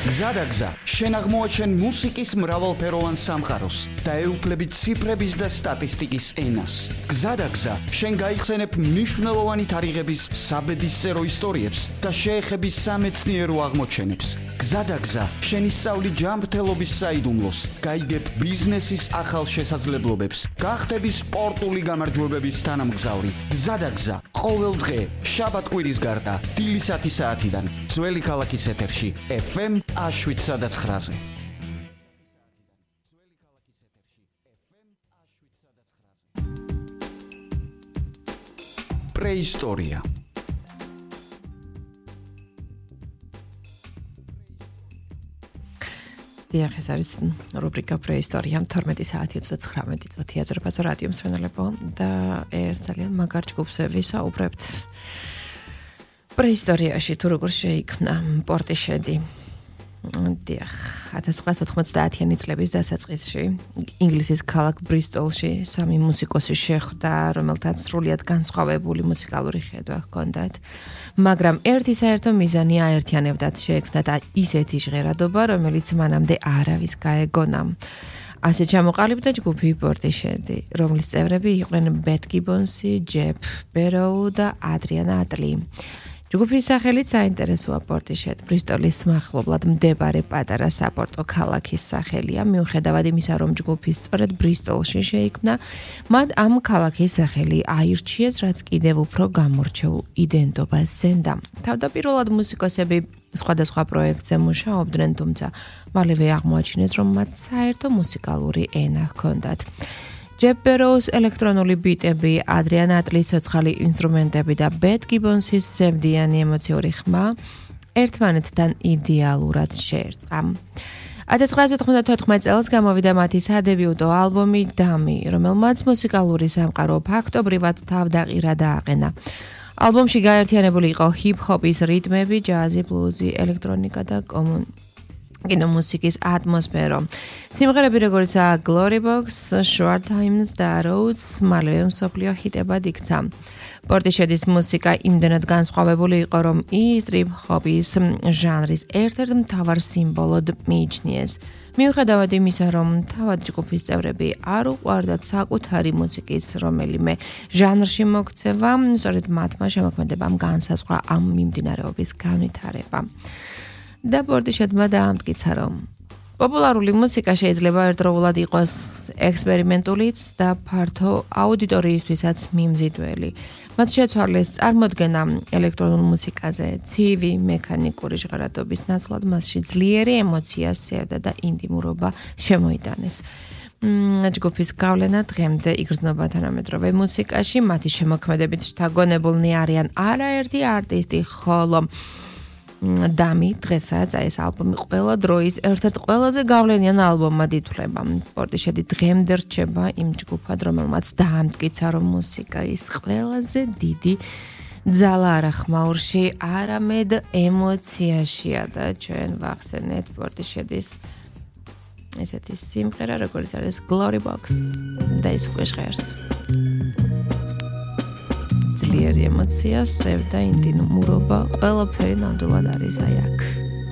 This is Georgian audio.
გზადაგზა, შენ აღმოაჩენ მუსიკის მრავალფეროვან სამყაროს და ეუფლებით ციფრების და სტატისტიკის ენას. გზადაგზა, შენ გაიხსენებ მნიშვნელოვანი თარიღების საბედისწერო ისტორიებს და შეეხები სამეცნიერო აღმოჩენებს. გზადაგზა, შენ ისწავლი ჯანმრთელობის საიდუმლოს, გაიგებ ბიზნესის ახალ შესაძლებლობებს, გახდები სპორტული გამარჯვებების თანამგზავრი. გზადაგზა, ყოველ დღე, შაბათ-კვირის გარდა, დილისათი საათიდან, ძველი ქალაქის ეთერში, FM 7-9-ზე. პრეისტორია. დიახ, ეს არის რუბრიკა პრეისტორია 12 საათი 39 წუთი აზერბაიჯანის რადიო მსმენელებო და ერთ ძალიან მაგარ ჯგუფს ვისაუბრებთ. პრეისტორიაში თუ როგორ შეიქმნა პორტიშედი. დიახ, 1990-იანი წლების დასაწყისში ინგლისის ქალაქ ბრისტოლში სამი მუსიკოსი შეხვდა, რომელთაც სრულიად განსხვავებული მუსიკალური ხედვა ჰქონდათ. მაგრამ ერთი საერთო მიზანი აერთიანებდათ, შეექმნათ ისეთი ჟღერადობა, რომელიც მანამდე არავის გაეგონა. ასე ჩამოყალიბდა ჯგუფი პორტიშედი, რომლის წევრები იყვნენ ბეთ გიბონსი, ჯეფ ბეროუ და ადრიან ატლი. ჯგუფის სახელით საინტერესოა პორტიშედი, ბრისტოლის მახლობლად მდებარე პატარა საპორტო ქალაქის სახელია, მიუხედავად იმისა, რომ ჯგუფი სწორედ ბრისტოლში შეიქმნა, მათ ამ ქალაქის სახელი აირჩიეს, რაც კიდევ უფრო გამორჩეულ იდენტობას ზენდა. თავდაპირველად მუსიკოსები სხვადასხვა პროექტზე მუშაობდნენ, თუმცა მალევე აღმოაჩინეს, რომ მათ საერთო მუსიკალური ენა ჰქონდათ. ჯეფ ბეროუს ელექტრონული ბიტები, ადრიან ატლის ცოცხალი ინსტრუმენტები და ბეთ გიბონსის ზევდიანი ემოციური ხმა ერთმანეთთან იდეალურად შეერწყა. 1994 წელს გამოვიდა მათი სადებიუტო ალბომი „დამი“, რომელმაც მუსიკალური სამყარო ფაქტობრივად თავდაყირა და აყენა. ალბომში გაერთიანებული იყო ჰიპ-ჰოპის რიტმები, ჯაზი, ბლუზი, ელექტრონიკა და კინომუსიკის ატმოსფერო. სიმღერები როგორიცაა Glory Box, Short Times და Roads მალევე მსოფლიო ჰიტებად იქცა. პორტიშედის მუსიკა იმდენად განსხვავებული იყო, რომ ის ტრიპ-ჰოპის ჟანრის ერთ-ერთ მთავარ სიმბოლოდ მიიჩნიეს. მიუხედავად იმისა, რომ თავად ჯგუფის წევრები არ უყვარდათ საკუთარი მუსიკის რომელიმე ჟანრში მოქცევა, სწორედ მათმა შემოქმედებამ განსაზღვრა ამ მიმდინარეობის განვითარება. და პორტიშედმა დაამტკიცა, რომ პოპულარული მუსიკა შეიძლება ერთდროულად იყოს ექსპერიმენტულიც და ფართო აუდიტორიისთვისაც მიმზიდველი. მათ შეცვალეს წარმოდგენა ელექტრონულ მუსიკაზე, ცივი, მექანიკური ჟღერადობის ნაცვლად მასში ძლიერი ემოცია, სევდა და ინტიმურობა შემოიტანეს. ჯგუფის გავლენა დღემდე იგრძნობა თანამედროვე მუსიკაში, მათი შემოქმედებით შთაგონებულნი არიან არაერთი არტისტი, ხოლო „დამი“ დღესაც ეს ალბომი ყველა დროის ერთ-ერთ ყველაზე გავლენიან ალბომად ითვლება. პორტიშედი დღემდე რჩება იმ ჯგუფად, რომელმაც დაამტკიცა, რომ მუსიკა ის ყველაზე დიდი ძალა არა ხმაურში, არამედ ემოციაშია და ჩვენ ვახსენეთ პორტიშედის ესეთი სიმღერა, როგორც არის Glory Box და ის უკვე ჟღერს. ძლიერი ემოცია, სევდა, ინტიმურობა, ყველაფერი ნამდვილად არის აი აქ.